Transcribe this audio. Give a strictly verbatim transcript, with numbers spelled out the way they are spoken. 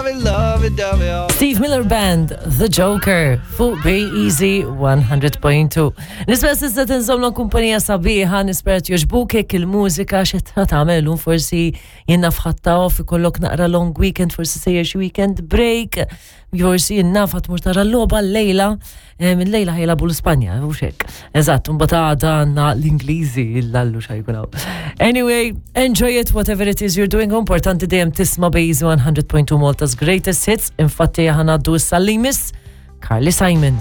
lovey, lovey, dovey. Oh. Steve Miller Band, The Joker, fuq Be Easy one hundred point two. Nispera s'issa tinżomlu kumpanija sabiħa, nispera jogħġbuk il-mużika xi tagħmel, forsi jiena fħatta off, ikollok naqra long weekend, forsi sejjer xi weekend break, forsi jiena tmur tara l-logħba l-lejla, minn lejla ħa jilagħbu l-Spanja, u xek. Eżatt, mbagħad għada għandna l-Ingliżi, il-lallu xajkunaw. Anyway, enjoy it, whatever it is you're doing. Importanti dejjem tisma' Be Easy one hundred point two, Malta's greatest hits. Infatti ħa ngħaddu issa li miss Carly Simon.